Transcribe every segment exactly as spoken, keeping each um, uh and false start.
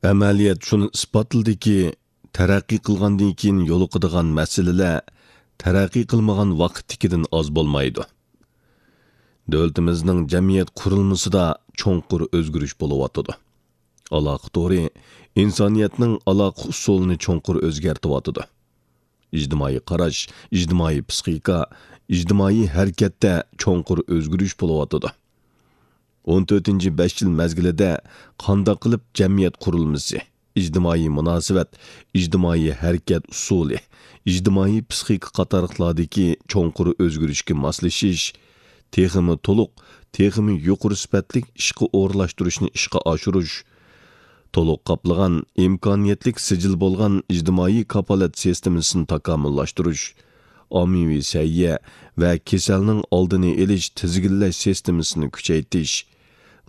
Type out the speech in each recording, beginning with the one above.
ئەمەلىيەت شۇنى ئىسپاتلىدىكى، تەرەققىي قىلغاندىن كېيىن يولۇقىدىغان مەسىلىلەر تەرەققىي قىلمىغان ۋاقىتتىكىدىن ئاز بولمايدۇ. دۆلىتىمىزنىڭ جەمئىيەت قۇرۇلمىسىدا چوڭقۇر ئۆزگىرىش بولۇۋاتىدۇ. ئالاقە تورى ئىنسانىيەتنىڭ ئالاقە ئۇسۇلىنى چوڭقۇر ئۆزگەرتىۋاتىدۇ. ئىجتىمائىي قاراش، ئىجتىمائىي پىسخىكا، ئىجتىمائىي ھەرىكەتتە چوڭقۇر ئۆزگىرىش بولۇۋاتىدۇ. ئون تۆتىنچى بەش يىل مەزگىلىدە قانداق قىلىپ جەمئىيەت قۇرۇلمىسى، ئىجتىمائىي مۇناسىۋەت، ئىجتىمائىي ھەرىكەت ئۇسۇلى، ئىجتىمائىي پىسخىكا قاتارلىقلاردىكى چوڭقۇر ئۆزگىرىشكە ماسلىشىش، تېخىمۇ تولۇق، تېخىمۇ يۇقىرى سۈپەتلىك ئىشقا ئورۇنلاشتۇرۇشنى ئىشقا ئاشۇرۇش، تولۇق قاپلىغان، ئىمكانىيەتلىك سىجىل بولغان ئىجتىمائىي كاپالەت سىستېمىسىنى تاكامۇللاشتۇرۇش، ئاممىۋى سەھىيە ۋە كېسەلنىڭ ئالدىنى ئېلىش، تىزگىنلەش سىستېمىسىنى كۈچەيتىش،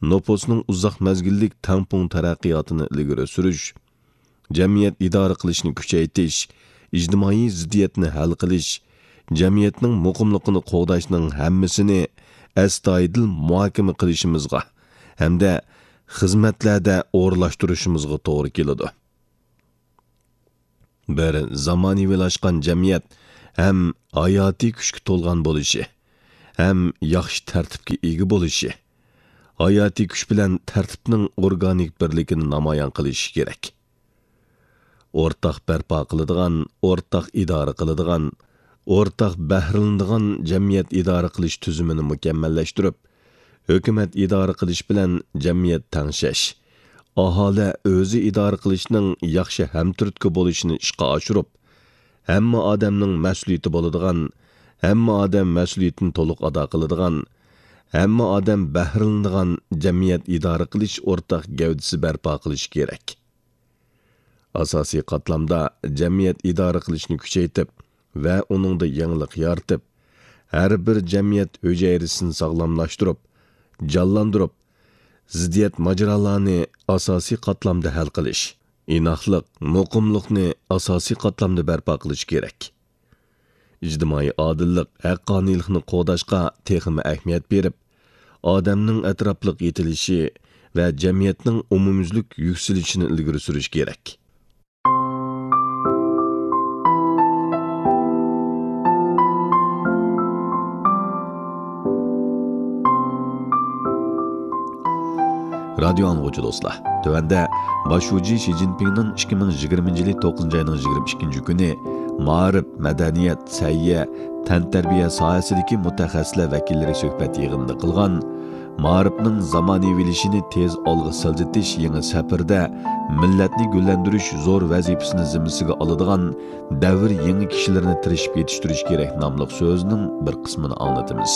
نوپۇسنىڭ ئۇزاق مەزگىللىك تەڭپۇڭ تەرەققىياتىنى ئىلگىرى سۈرۈش، جەمئىيەت ئىدارە قىلىشنى كۈچەيتىش، ئىجتىمائىي زىددىيەتنى ھەل قىلىش، جەمئىيەتنىڭ مۇقىملىقىنى قوغداشنىڭ ھەممىسىنى ئەستايىدىل مۇھاكىمە قىلىشىمىزغا ھەمدە خىزمەتلەردە ئورۇنلاشتۇرۇشىمىزغا توغرا كېلىدۇ. بىر زامانىۋىلاشقان جەمئىيەت ھەم ھاياتىي كۈچكە تولغان بولۇشى، ھەم ياخشى تەرتىپكە ئىگە بولۇشى، ھاياتىي كۈچ بىلەن تەرتىپنىڭ ئورگانىك بىرلىكىنى نامايان قىلىشى كېرەك. ئورتاق بەرپا قىلىدىغان، ئورتاق ئىدارە قىلىدىغان، ئورتاق بەھرىلىنىدىغان جەمئىيەت ئىدارە قىلىش تۈزۈمىنى مۇكەممەللەشتۈرۈپ، ھۆكۈمەت ئىدارە قىلىش بىلەن جەمئىيەت تەڭشەش، ئاھالە ئۆزى ئىدارە قىلىشنىڭ ياخشى ھەمتۈرتكە بولۇشىنى ئىشقا ئاشۇرۇپ، ھەممە ئادەمنىڭ مەسئۇلىيىتى بولىدىغان، ھەممە ئادەم مەسئۇلىيىتىنى تولۇق ئادا قىلىدىغان، ھەممە ئادەم بەھرىلىنىدىغان جەمئىيەت ئىدارە قىلىش ئورتاق گەۋدىسى بەرپا قىلىش كېرەك. ئاساسىي قاتلامدا جەمئىيەت ئىدارە قىلىشنى كۈچەيتىپ ۋە ئۇنىڭدا يېڭىلىق يارىتىپ، ھەر بىر جەمئىيەت ھۈجەيرىسىنى ساغلاملاشتۇرۇپ، جانلاندۇرۇپ، زىددىيەت ماجىرالارنى ئاساسىي قاتلامدا ھەل قىلىش، ئىناقلىق، مۇقىملىقنى ئاساسىي قاتلامدا بەرپا قىلىش كېرەك. ئىجتىمائىي ئادىللىق، ھەققانىيلىقنى قوغداشقا تېخىمۇ ئەھمىيەت بېرىپ، ئادەمنىڭ ئەتراپلىق يېتىلىشى ۋە جەمئىيەتنىڭ ئومۇميۈزلۈك يۈكسىلىشىنى ئىلگىرى سۈرۈش كېرەك. رادىيو ئاڭلىغۇچى دوستلار، تۆۋەندە باش شۇجى شى جىنپىڭنىڭ ئىككى مىڭ يىگىرمىنچى يىلى توققۇزىنچى ئاينىڭ يىگىرمە ئىككىنچى كۈنى مائارىپ، مەدەنىيەت، سەھىيە، تەنتەربىيە ساھەسىدىكى مۇتەخەسسىسلەر ۋەكىللىرى سۆھبەت يىغىنىدا قىلغان مائارىپنىڭ زامانىۋىلىشىشىنى تېز ئالغا سىلجىتىش يېڭى سەپىرىدە مىللەتنى گۈللەندۈرۈش زور ۋەزىپىسىنى زىممىسىگە ئالىدىغان دەۋر يېڭى كىشىلىرىنى تىرىشىپ يېتىشتۈرۈش كېرەك ناملىق سۆزىنىڭ بىر قىسمىنى ئاڭلىتىمىز.